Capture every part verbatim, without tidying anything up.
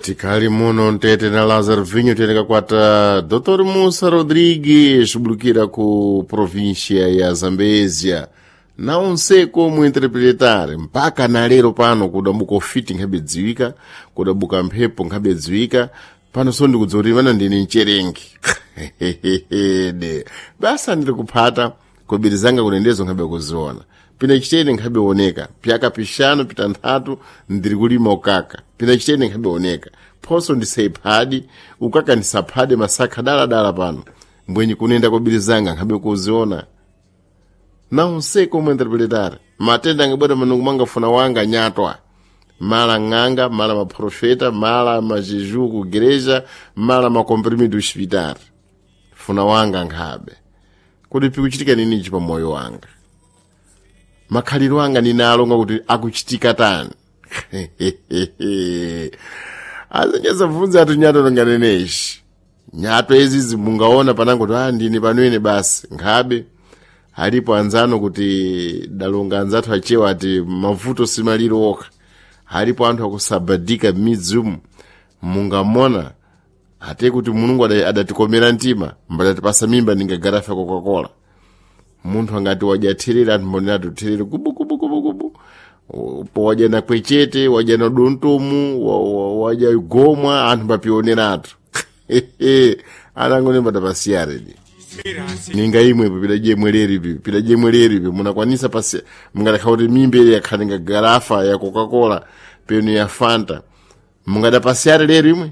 Tikali muno mtete na Lázaro Vinho teneka kwata Doutor Musa Rodrigues bulukira ku província ya Zambezia na onseko muinterpretar mpaka na lero pano kudabuka ufiti nkhabe dziwika, kudabuka mphepo nkhabe dziwika pano so ndikudziwa kuti ndine mcherengi de basa ndiri kuphata kobiri zanga kunendezo nkhabe kuziona pina chitene nkhabe oneka pyaka pishanu pitanthatu ndiri kulima ukaka pina chitene nkhabe oneka phoso ndisaiphadi ukaka ndisaphade masakha daladala pano mbwenyi kunenda kobiri zanga nkhabe kuziona na unseko muinterpretar matenda angabwera manungu mangafuna wanga nyatwa mala ng'anga, mala maprofeta, mala majeju ku gereja, mala makomprimido hospital funa wanga nkhabe kuti pikuchitika ninichi pa moyo wanga makhaliro anga ninalonga kuti akuchitika tani azinyazabvunza ati nyato longaneneshi nyato izizi mungaona panango kuti ah ndine panoene basi nkhabe alipo anzano kuti dalonga anzathu achewa ati mavuto simaliro okha alipo anthu akusabadika m'midzi umu mungamona ate kuti mulungu adatikomera mtima mbadatipasa mimba ningagarafa coca-cola munthu angati wadya therere anthu mbonera tutherere kubu kubu kubu kubu po wadya na kwechete wadya na dontomu wadya gomwa anthu mbapioneratu anangone mbatapasiyaredi ninga imwepo pidadye mwereripi pidadye mwereripi munakwanisa pasi mungadakha kuti mimba ili yakhale nga garafa ya coca-cola penu ya fanta mungadapasiyari lero imwe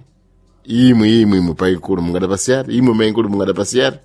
imwe imwe imwe paikulu mungadapasiyari imwe maikulu mungadapasiyari.